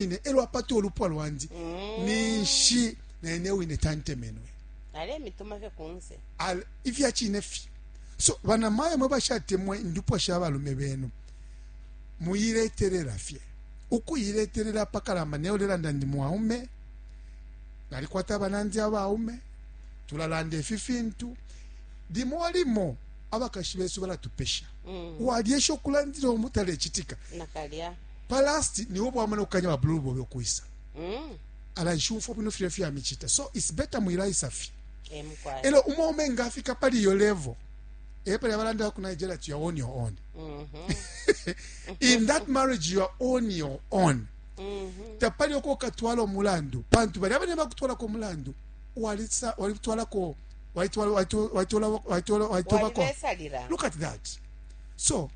Wine elo apata ulupwa lwandi mm. Ninshi naine wine tantemenwe. Alemituma fye kunse. Ifya cine fye. So banamayo mwe bashatemwa indupwa sha balume benu, muiletelela fye, ukuiletelela apakalamba. Neyo lelanda ndi mwaume, nalikwata abanandi abaume, tulalanda ifi fintu limo limo. Abakashi besu balatupesha. Walyesha ukulandila umu, talecitika. Nakalya. Pa last niwe bwamana kukanya ba blue bobe ukwisa. Ala nshumfwa bwino filya fya micita. So it's better mwilaisa fye. Elo umwaume nga afika pali iyo level, epali abalanda ku Nigeria ati you are on your own. In that marriage you are on your own. Tapali uko ukatwala umulandu, pantu balya bane bakutwalako umulandu, walisa walitwalako, waitwala waitwala waitwala waitobako. Walibesalila. Look at that. So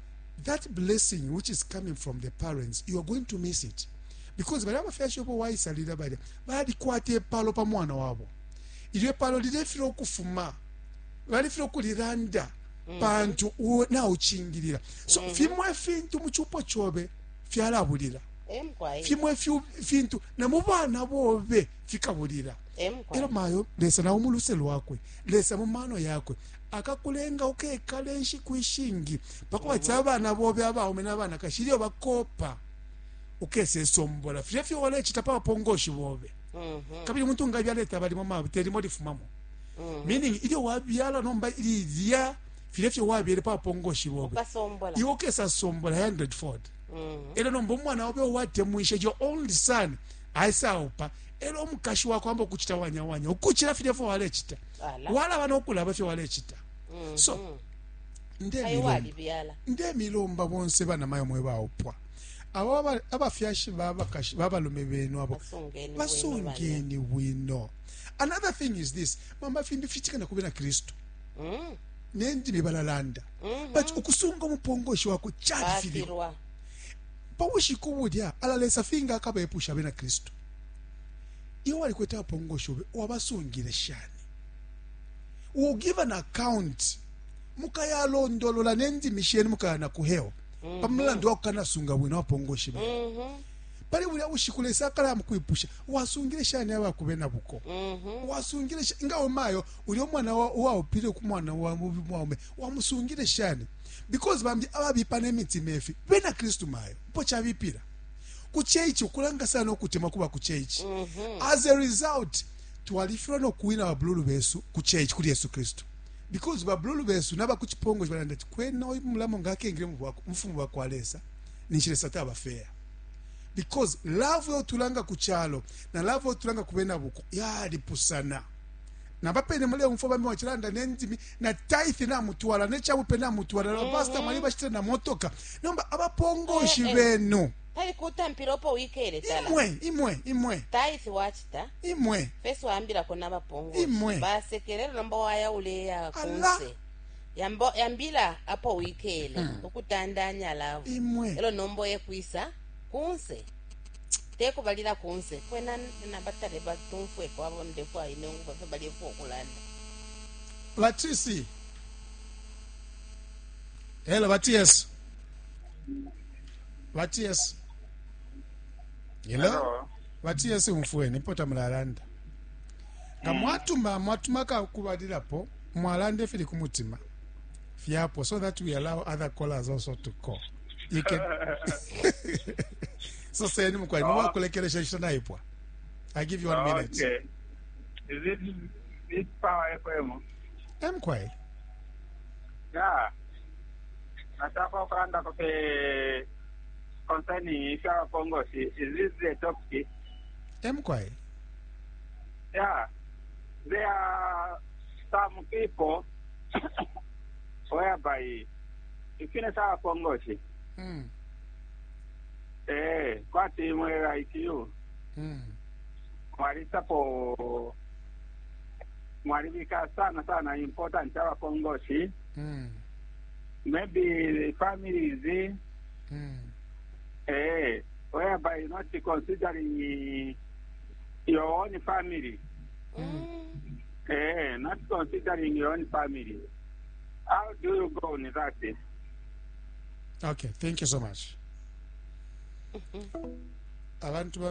that blessing which is coming from the parents, you are going to miss it, because balya abafyashi obo waisalila balya balikwata ipalo pa mwana wabo. Ilyo ipalo lilefila ukufuma, balifila ukulilanda, pantu naucingilila. So fimo ifintu mu cupo cobe fyalabulila, fimo ifintu na mu bana bobe fikabulila. Elo mayo, Lesa nao mu luse lwakwe, Lesa mu mano yakwe akakulenga ukekale inshiku ishingi, pakwati abana bobe abaume na banakashi ilyo bakopa ukesesombola filya fyo walecita pa bapongoshi bobe. Kabili umuntu nga abyala balimo mabu telimo lifumamo. Meaning ilyo wabyala nomba lilya filya fyo wabyele pa bapongoshi bobe, iwe ukesasombola 100 fold. Elyo nomba umwana obe uwatemwisha, your only son, aisaupa, elyo umukashi wakwe amba ukucita wanya wanya ukucila filya fyo walecita, walaba no kulaba fyo walecita. So ndemilomba bonse banamayo mwe baupwa, abo abafyashi babakashi babalume benu abo, basungeni bwino. Another thing is this, mama, fimbi fichitika na kubena Kristu. Nendimi balalanda, but ukusunga umupongoshi wako califilwa pa bushiku bulya. Ala Lesa finga akabepusha abena Kristu, iwe walikwete abapongoshi obe, wabasungile shani? Will give an account. Mukayalondolola nendimi shenu, mukaya na ku hell pa mulandu wa kukanasunga bwino abapongoshi benu. Pali bulya bushiku Lesa akalaya mukwipusha, wasungile shani abakube na buko? Wasungile shani nga umayo ulya umwana uwaupile ku mwana wa mwaume, wamusungile shani? Because bambi ababipa ne mitima ifi bena Kristu, mayo, mpo chabipila ku church, ukulanga sana ukutemwa kuba ku church. As a result twalifilwa no kuwina babululu besu ku church, kuli Yesu Kristu, because babululu besu naba ku chipongo balanda ati kwena uyu mulamo nga akengile mu bufumu bwa kwa Lesa, ninshi Lesa taba fair, because love yotulanga ku chalo na love yotulanga ku bena buko yalipusana. Nabapene muleumfwa bambi wachilanda nendimi na tithe namutwala nechabupe namutwala na pastor mwali bashitile na motoka, nomba abapongoshi benu pali kutampila opo wikele tala. Imwe imwe imwe. Tithe wachita. Imwe. Fesi waambilako nabapongoshi. Imwe. Basekelela, nomba waya uleya kunse. Yambo, yambila apo wikele ukutandanya love. Imwe. Elo nomba oye kwisa kunse, tekubalila kunse kwena nabatale batumfweko abo ndefwa ine ngufa fe balefwa okulanda. Batisi, hello, bats bats, hello. Hello. Bats, umfweni mpota mulalanda nga mwatuma mwatuma kakubalilapo, mwalanda ifili ku mutima fyapo, so that we allow other callers also to call. You can so seni mukwai mwakulekelesha inshita naipwa. I give you one minute. Okay. Is it this Power FM? Emkwai. Yeah. Nataka ukulanda kope concerning ifya Kongosi. Is this the topic? Emkwai. Yeah. There are some people whereby ifine sa Kongosi. Eh, kwati mwe like you. Mwalisapo mwalibika sana sana important abakongoshi. Maybe the families, whereby not considering your own family, not considering your own family. How do you go on that? Okay, thank you so much. Abantu bambi.